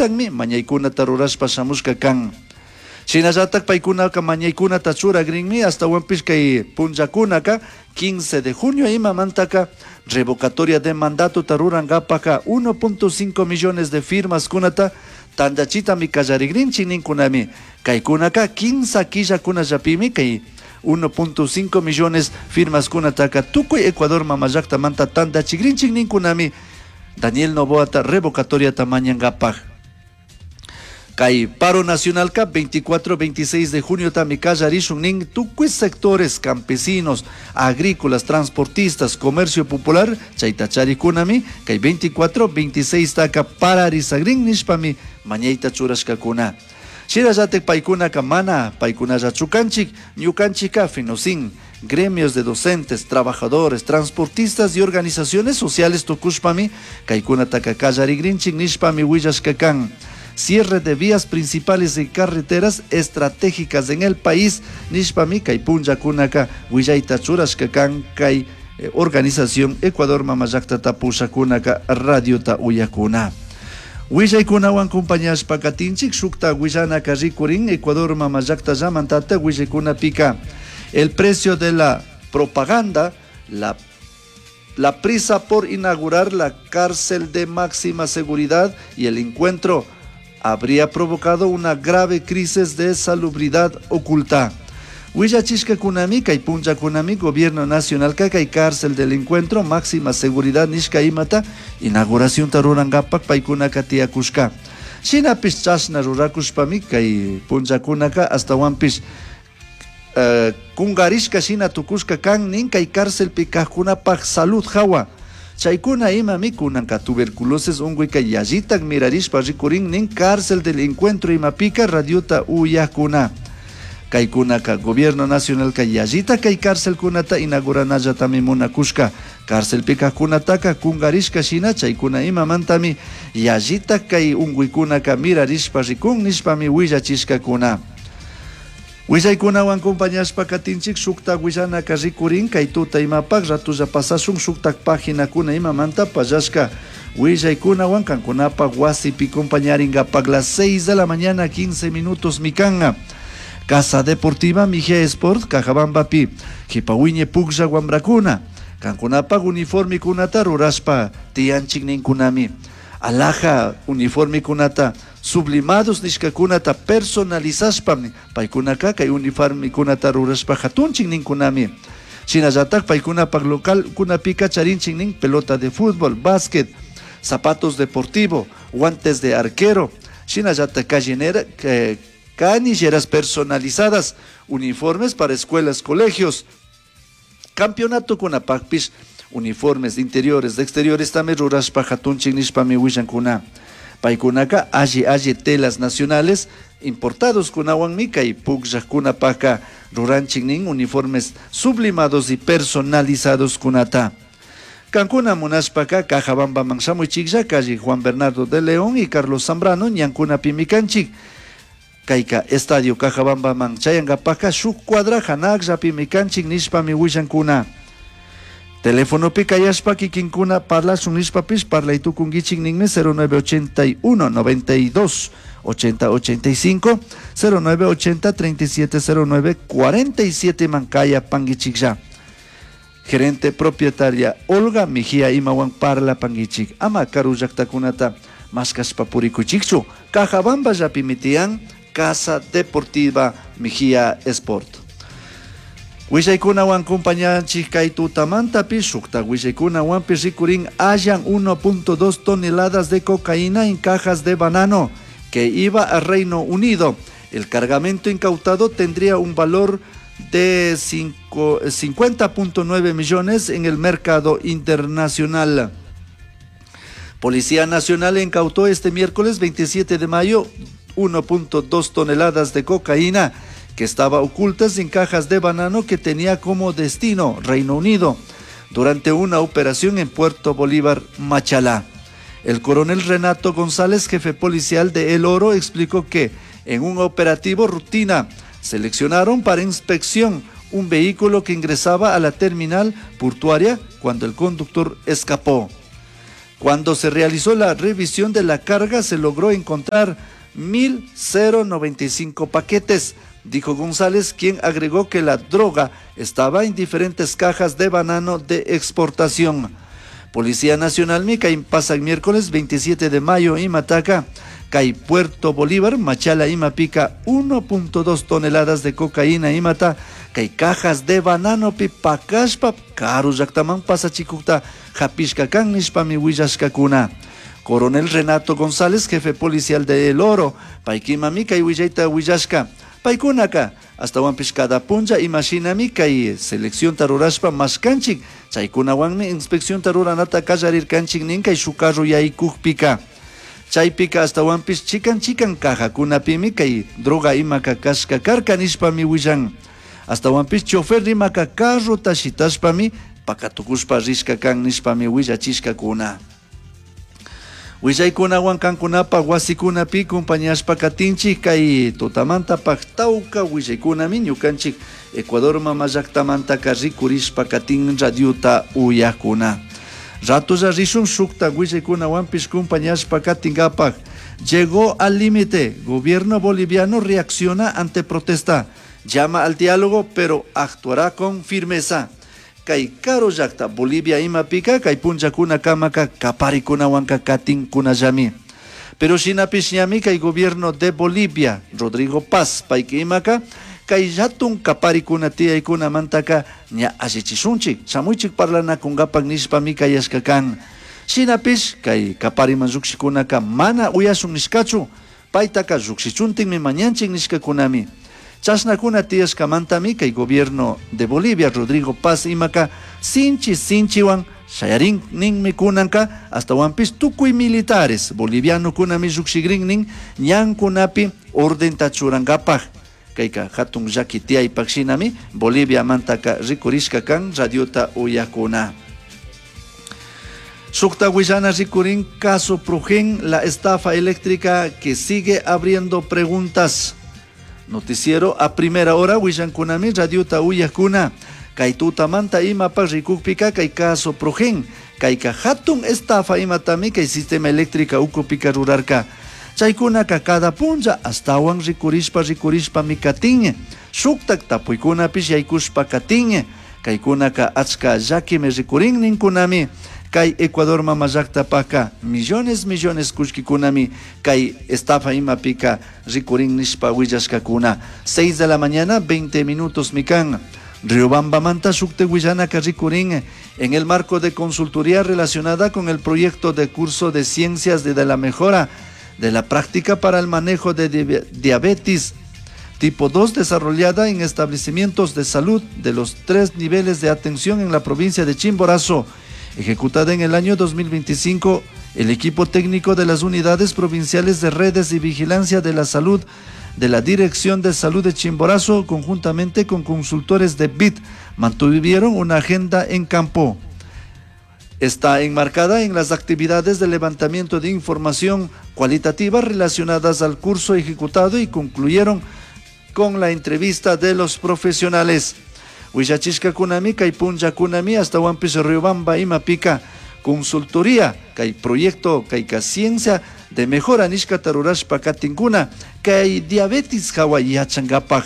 Yallitakmi mañaykunata rurashpa shamushka kan. Shinallatak paykunaka mañaykunata churagrinmi, ashtawanpish kay punllakunaka 15 de junio imamantaka revocatoria de mandatota rurankapaka 1.5 millones de firmaskunata tantachitami kallarigrinchik ninkunami. Kaykunaka 15 killakunallapimi kay 1.5 millones firmaskunataka tukuy Ecuador mamallaktamanta tantachigrinchik ninkunami Daniel Noboata revocatoriata mañankapak. Kay paro nacionalka 24-26 de junio tami kallarishun nin tukuy sectores campesinos, agrícolas, transportistas, comercio popular, chayta charikunami kay 24-26 taka pararizagrin nishpami mañayta churashkakuna. Shinallatak paykunaka mana paykunallachu kanchik, ñukanchikka FENOCIN, gremios de docentes, trabajadores, transportistas y organizaciones sociales tukushpami kaykunataka kallarigrinchik nishpami willashka kan. Cierre de vías principales y carreteras estratégicas en el país nishpami kay punllakunaka willayta churashka kan kay organización Ecuador Mamallaktata pushakunaka radiota uyakuna. Willaykunawan compañashpa katinchik shukta willanaka rikurin Ecuador Mamallakta llamantata willaykunapika el precio de la propaganda, la prisa por inaugurar la cárcel de máxima seguridad y el encuentro habría provocado una grave crisis de salubridad oculta. Willachishka kunami, kay punlla kunami, Gobierno Nacional kay cárcel del encuentro, máxima seguridad nishka imata, inauguración rurangapak paykunaka tiyakushka. Shinapish chashna rurakushpami kay punllakunaka astawanpish kungarishka shina tukushka kan nin kay cárcelpi kajkunapaj salud hawa. Chaykuna imami kunanka tuberculosis unkuyka yallitak mirarishpa rikurin nin cárcel del encuentro imapika radiota uyakuna. Kaykunaka Gobierno Nacional ka yallita kay cárcelkunata inauguranallatami munakushka. Cárcelpi kajkunataka kungarishka shina chaykuna imamantami yallita kay unkuykunaka mirarishpa rikun nishpami willachishkakuna. Willaykunawan compañashpa katinchik shukta willanaka rikurin kay tuta imapak ratulla pasashun shuktak paginakuna imamanta pallashka willaykunawan kankunapak wasipi compañaringapak las 6 de la mañana 15 minutos mikanga. Casa Deportiva Mejía Sport Cajabambapi Jipawiñe Puglla Wambrakuna kankunapak uniformikunata rurashpa tiyanchik ninkunami. Alhaja uniformikunata sublimados nishkakunata personalizashpami paykunaka kay uniformikunata rurashpa hatunchik ninkunami. Shinallatak paykunapak local kunapika charinchik nin pelota de fútbol, básquet, zapatos deportivo, guantes de arquero, shinallatak callinera, canilleras personalizadas, uniformes para escuelas, colegios, campeonato kunapakpish, uniformes de interiores, de exteriores también rurashpa hatunchik nishpami willankuna. Paykunaka alli alli telas nacionales importados kunawanmi kay pukllaqkunapaka ruranchik nin uniformes sublimados y personalizados kunata. Kankuna munashpaka Cajabambaman shamuychiklla calle Juan Bernardo de León y Carlos Zambrano ñankunapimi kanchik. Kayka Estadio Cajabambaman chayankapaka shuk cuadra hanakllapimi kanchik nishpami willankuna. Telefonopi kayashpa kikinkuna parlashun nishpapish parlaytukunkichik ninmi cero nueve ochenta y uno, noventa y dos, ochenta, ochenta y cinco, cero nueve ochenta, treinta y siete, cero nueve, cuarenta y siete mankaya panguichiklla. Gerente propietaria Olga Mejía imawan parla panguichik. Ama karu llaqtakunata maskashpa purikuchikchu. Cajabamba llapimitian Casa Deportiva Mejía Sport. Willaykunawan compañanchik kay tutamantapi shukta willaykunawanpi rikurin hallan 1.2 toneladas de cocaína en cajas de banano que iba a Reino Unido. El cargamento incautado tendría un valor de 50.9 millones en el mercado internacional. Policía Nacional incautó este miércoles 27 de mayo 1.2 toneladas de cocaína que estaba ocultas en cajas de banano que tenía como destino Reino Unido durante una operación en Puerto Bolívar, Machalá. El coronel Renato González, jefe policial de El Oro, explicó que en un operativo rutina seleccionaron para inspección un vehículo que ingresaba a la terminal portuaria cuando el conductor escapó. Cuando se realizó la revisión de la carga se logró encontrar 1.095 paquetes, dijo González, quien agregó que la droga estaba en diferentes cajas de banano de exportación. Policía Nacional Mica pasa el miércoles 27 de mayo y Mataca, Cay Puerto Bolívar, Machala y Mapica 1.2 toneladas de cocaína y mata, kay cajas de banano pi pakashpa karu llaktaman pasachikukta hapishka kan nishpami willashkakuna. Coronel Renato González, jefe policial de El Oro, paykimami kay willayta willashka. Paykunaka astawanpish cada punlla imashinami kay seleccionta rurashpa mashkanchik, chaykunawanmi inspeccionta ruranata kallarirkanchik nin kay shuk carro yaykukpika. Chaypika astawanpish chikan chikan cajakunapimi kay droga imaka kashka karka nishpami willan. Astawanpish chofer rimaka carrota shitashpami pakatukushpa rishka kan nishpami willachishkakuna. Willaykunawan kankunapaq wasikunapi compañashpa katinchik kay tutamantapaq tawka willaykunami ñukanchik Ecuador mama llaktamantaka rikurishpa katin radiota uyakuna. Ratolla rishun shukta willaykunawanpish compañashpa katinkapak. Llegó al límite. Gobierno boliviano reacciona ante protesta. Llama al diálogo, pero actuará con firmeza. Kay karu llakta Bolivia imapika kay punllakuna kamaka kaparikunawanka katinkunallami. Pero shinapish ñami kay gobierno de Bolivia, Rodrigo Paz, payki imaka, kay hatun kaparikuna tiyaykunamantaka ña allichishunchik, shamuychik parlanakunkapak nishpami kayashka kan. Shinapish kay kapariman llukshikunaka mana uyashun nishkachu, paytaka llukshichuntinmi mañanchik nishkakunami. Chashnakuna tiyashkamantami kay gobierno de Bolivia, Rodrigo Paz imaka, sinchi sinchiwan shayarin ninmi kunanka, astawanpish tukuy militares bolivianokunami llukshikrin nin ñankunapi ordenta churankapak. Kayka hatun llaki tiyaypak shinami Bolivia mantaka rikurishka kan radiota uyakuna. Shukta willana rikurin caso Prugen, la estafa eléctrica que sigue abriendo preguntas. Noticiero a primera hora willankunami radiota uyakuna. Kay tutamanta imapak rikukpika kay caso Prugen, kayka hatun estafa imatami kay sistema eléctrica ukupika rurarka. Chaykunaka cada punlla astawan rikurishpa rikurishpami katin. Shuktak tapuykunapish yaykushpa katin. Kaykunaka achka llakimi rikurin ninkunami. Kay Ecuador mama llaktapaka millones millones kullkikunami kay estafa imapika rikurin nishpa willashkakuna. 6 de la mañana, 20 minutos mikan. Riobambamanta shukte willanaka rikurin en el marco de consultoría relacionada con el proyecto de curso de ciencias de la mejora de la práctica para el manejo de diabetes tipo 2 desarrollada en establecimientos de salud de los 3 niveles de atención en la provincia de Chimborazo. Ejecutada en el año 2025, el equipo técnico de las unidades provinciales de redes y vigilancia de la salud de la Dirección de Salud de Chimborazo, conjuntamente con consultores de BID, mantuvieron una agenda en campo. Está enmarcada en las actividades de levantamiento de información cualitativa relacionadas al curso ejecutado y concluyeron con la entrevista de los profesionales. Willachishka kunami, kay punlla kunami, astawanpish Riobamba imapika consultoría, kay proyecto, kay ciencia de mejora nishkata rurashpa katinkuna, kay diabetes hawa yachankapak.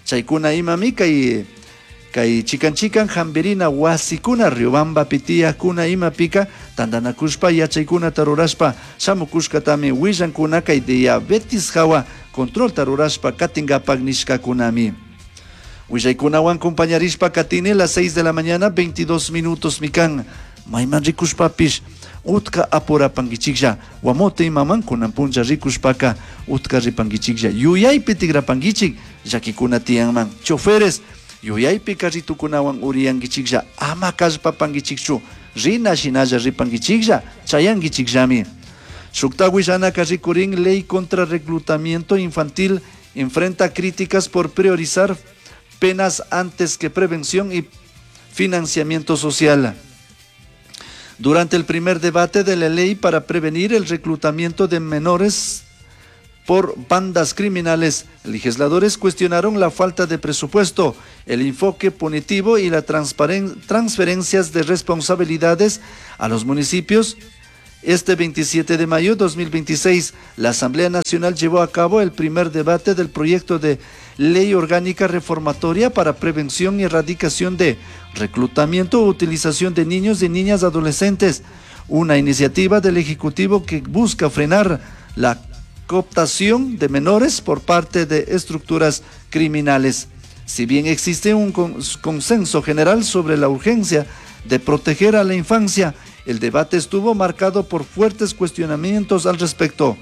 Chaykuna imami, kay kay chikan chikan hambirina wasikuna Riobamba pitiyakuna imapika tantanakushpa yachaykunata rurashpa shamukushkatami willankuna kay diabetes hawa controlta rurashpa katinkapak nishkakunami. Willaykunawan compañarishpa katini las 6 de la mañana, 22 minutos mikan. Mayman rikushpapish utka apurapankichiklla, wamote imaman kunan punlla rikushpaka utka ripankichiklla, yuyaypi tigrapankichik llakikuna tiyanman. Choferes yuyaypi carritukunawan uriyankichiklla, ama kallpapankichikchu, rina shinalla ripankichiklla, chayankichikllami. Shukta willanaka rikurin ley contra reclutamiento infantil enfrenta críticas por priorizar penas antes que prevención y financiamiento social. Durante el primer debate de la ley para prevenir el reclutamiento de menores por bandas criminales, legisladores cuestionaron la falta de presupuesto, el enfoque punitivo y las transferencias de responsabilidades a los municipios. Este 27 de mayo de 2026, la Asamblea Nacional llevó a cabo el primer debate del proyecto de Ley Orgánica Reformatoria para Prevención y Erradicación de Reclutamiento o Utilización de Niños y Niñas Adolescentes, una iniciativa del Ejecutivo que busca frenar la cooptación de menores por parte de estructuras criminales. Si bien existe un consenso general sobre la urgencia de proteger a la infancia, el debate estuvo marcado por fuertes cuestionamientos al respecto.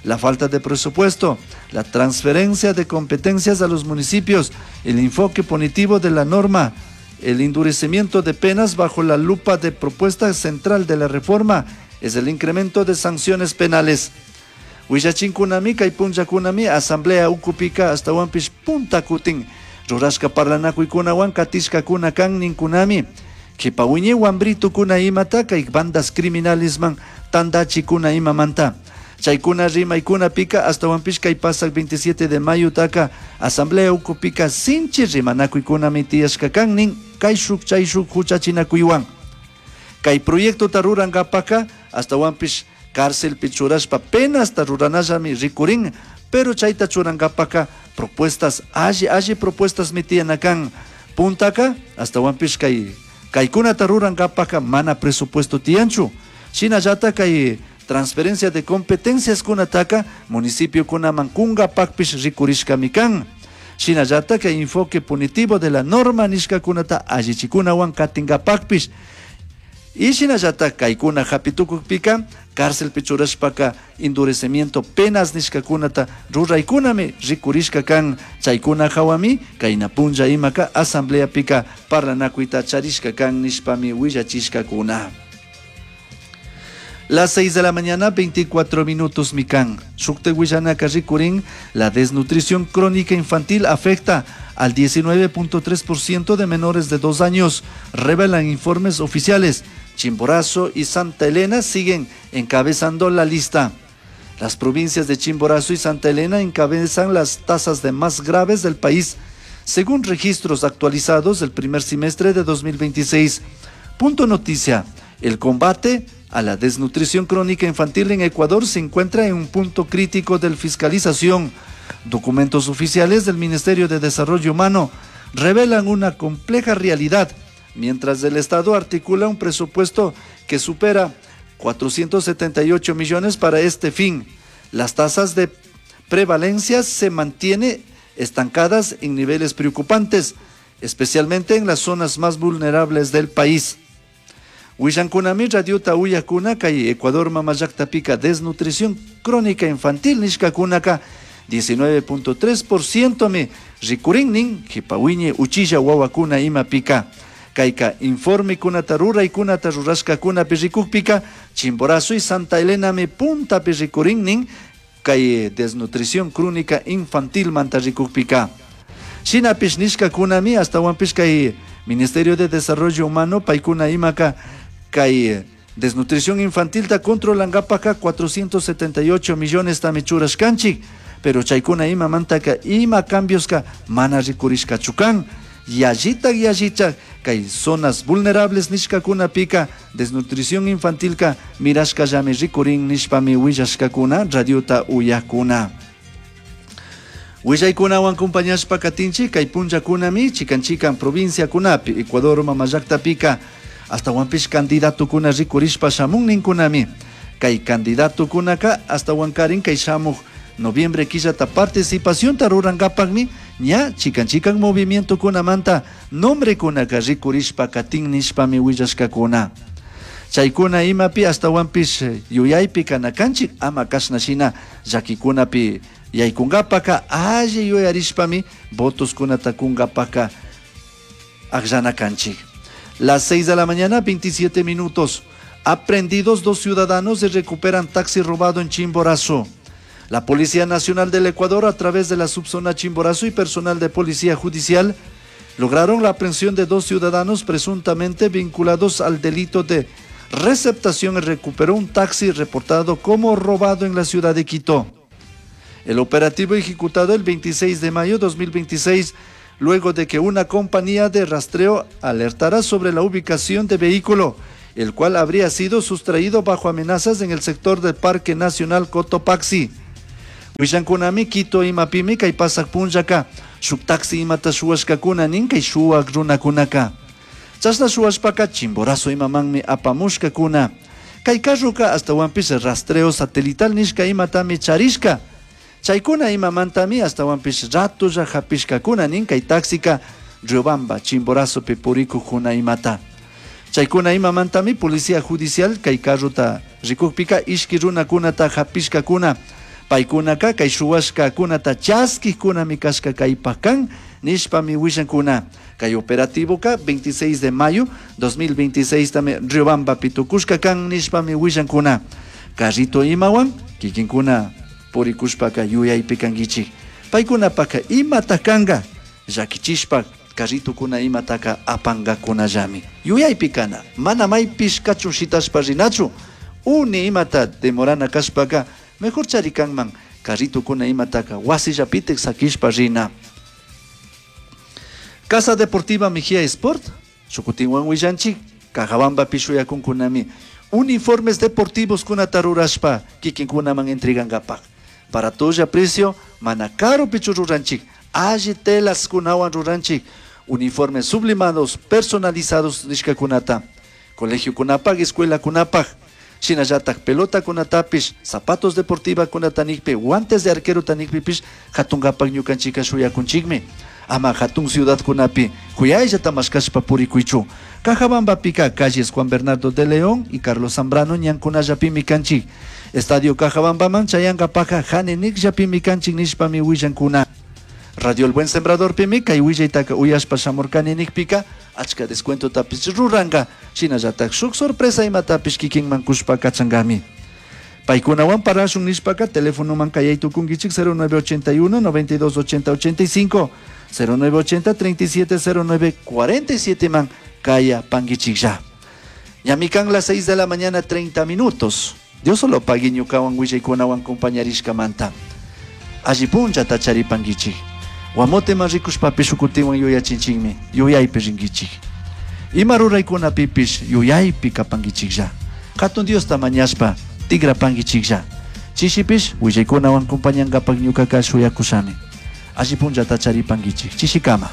La falta de presupuesto, la transferencia de competencias a los municipios, el enfoque punitivo de la norma, el endurecimiento de penas bajo la lupa de propuesta central de la reforma es el incremento de sanciones penales. Willachinkunami kay punllakunami asamblea ukupika ashtawanpish punta kutin rurashka parlanakuykunawan katishkakuna kan ninkunami. Kipa wiñay wambritukuna imata kay bandas criminalesman tandachikuna imamanta. Chaykuna rimaykunapika ashtawanpish kay pasak 27 de mayo taka asamblea ukupika sinchi rimanakuykunami tiyashka kan nin kayshuk chayshuk huchachinakuywan. Kay proyectota rurankapaka ashtawanpish cárcelpi churashpa penasta ruranallami rikurin, pero chayta churankapaka propuestas alli alli propuestas tiyana kan. Puntaka ashtawanpish kay kaykunata rurankapaka mana presupuesto tiyanchu. Shinallata kay transferencia de competencias kunataka municipio kunaman kunkapakpish rikurishkami kan. Shinallata kay enfoque punitivo de la norma nishkakunata allichikunawan katinkapakpish. Y shinallata kaykuna hapitukukpika cárcelpi churashpaka endurecimiento penas nishkakunata ruraykunami rikurishka kan. Chaykuna hawami kayna punlla imaka asambleapika parlanakuyta charishka kan nishpami willachishkakuna. Las 6 de la mañana, 24 minutos, mikan. Shukte willanaka rikurin, la desnutrición crónica infantil afecta al 19.3% de menores de 2 años, revelan informes oficiales. Chimborazo y Santa Elena siguen encabezando la lista. Las provincias de Chimborazo y Santa Elena encabezan las tasas de más graves del país, según registros actualizados del primer semestre de 2026. Punto noticia, el combate a la desnutrición crónica infantil en Ecuador se encuentra en un punto crítico de fiscalización. Documentos oficiales del Ministerio de Desarrollo Humano revelan una compleja realidad, mientras el Estado articula un presupuesto que supera 478 millones para este fin. Las tasas de prevalencia se mantienen estancadas en niveles preocupantes, especialmente en las zonas más vulnerables del país. Willankunami radiota uyakuna kay Ecuador mamallaqtapika desnutrición crónica infantil nishkakunaka 19.3% mi rikurin nin kipa wiñay uchilla wawakuna imapika. Kayka informe kunata ruraykunata rurashkakunapi rikukpika Chimborazo y Santa Elena mi puntapi rikurin nin kay desnutrición crónica infantil manta rikukpika. Shinapish nishkakunami ashtawanpish kay Ministerio de Desarrollo Humano paykuna imaka kay desnutrición infantil ta controlankapaka 478 millones tami churashkanchik, pero chaykuna imamantaka ima cambioska mana rikurishkachu kan. Yallitak yallichak kay zonas vulnerables nishkakunapika desnutrición infantilka mirashkallami rikurin nishpami willashkakuna radiota uyakuna. Willaykunawan compañashpa katinchik kay punllakunami chikan chikan provinciakunapi Ecuador mamallaqtapika ashtawanpish candidatukuna rikurishpa shamun ninkunami. Kay candidatukunaka ashtawankarin kay shamuj noviembre killata participacionta rurankapakmi ña chikan chikan movimientokunamanta nombrekunaka rikurishpa katin nishpami willashkakuna. Chaykuna imapi ashtawanpish yuyaypi kanakanchik ama kashna shina llakikunapi yaykunkapaka alli yuyarishpami votoskunata kunkapaka akllana kanchik. Las 6 de la mañana, 27 minutos. Aprendidos 2 ciudadanos y recuperan taxi robado en Chimborazo. La Policía Nacional del Ecuador, a través de la subzona Chimborazo y personal de Policía Judicial, lograron la aprehensión de 2 ciudadanos presuntamente vinculados al delito de receptación y recuperó un taxi reportado como robado en la ciudad de Quito. El operativo ejecutado el 26 de mayo de 2026, luego de que una compañía de rastreo alertara sobre la ubicación de vehículo el cual habría sido sustraído bajo amenazas en el sector del Parque Nacional Cotopaxi. Willankunami Quito imapimi kay pasaq punllaka shuk taxi imata shuwashkakuna nin kay shuwak runakunaka. Chashna shuwashpaka Chimborazo imamanmi apamushkakuna. Kay carroka astawanpish rastreo satelital nishka imatami charishka. Chaykuna imamantami astawanpish ratolla hapishkakuna nin kay taxika Riobamba, Chimborazopi purikukuna imata. Chaykuna imamantami policía judicial kay carrota rikukpika ishki runakunata hapishkakuna. Paykunaka kay shuwashkakunata chaskikkunami kashka kaypak kan nishpami willankuna. Kay operativoka 26 de mayo 2026 tami Riobambapi tukushka kan nishpami willankuna. Carrito imawan kikinkuna purikushpaka yuyaypi kankichik. Paykunapaka imata kanka llakichishpa carritokuna imataka apankakunallami. Yuyaypi kana, mana maypish kachun shitashpa rinachu. Uni imata demorana kashpaka mejor chari kanman carritokuna imataka wasillapitik sakishpa rina. Casa Deportiva Mejía Sport, shukutinwan willanchik, Cajabambapi shuyakunkunami uniformes deportivos kunata rurashpa kikinkunaman entregankapaj. Baratolla precio, mana karupichu ruranchik, alli telas kunawan ruranchik, uniformes sublimados, personalizados nishkakunata. Colegio kunapaj, escuela kunapaj, shinallatak pelota kunatapish, zapatos deportiva kunata nikpi, guantes de arquero tanikpipish, hatunkapak ñukanchika shuyakunchikmi. Ama hatun ciudad kunapi, kuyayllata mashkashpa purikuychu. Cajabambapika calles Juan Bernardo de León y Carlos Zambrano ñankunallapimi kanchik. Estadio Cajabambaman chayankapaka hanenikllapimi kanchik nishpami willankuna. Radio El Buen Sembrador pimi kay willaytaka uyashpa shamurkani nikpika achka descuentotapish ruranka shinallatak shuk sorpresa imatapish kikinman kushpa kachankami. Paykunawan parlashun nishpaka telefonoman kayay tukunkichik 0981 92 80 85 0980 37 09 47 man kaya pankichiklla. Ñami kan las 6 de la mañana 30 minutos. Dios solo pagui ñukawan willaykunawan compañarishkamanta. Alli punllata charipankichik. Guamoteman rikushpapish shukutiwan yuyachinchikmi, yuyaypi rinkichik. Ima ruraykunapipish yuyaypi kapankichiklla. Hatun Diosta mañashpa tigrapankichiklla. Chishipish willaykunawan compañankapak ñukaka shuyakushani. Alli punllata charipankichik. Chishikama.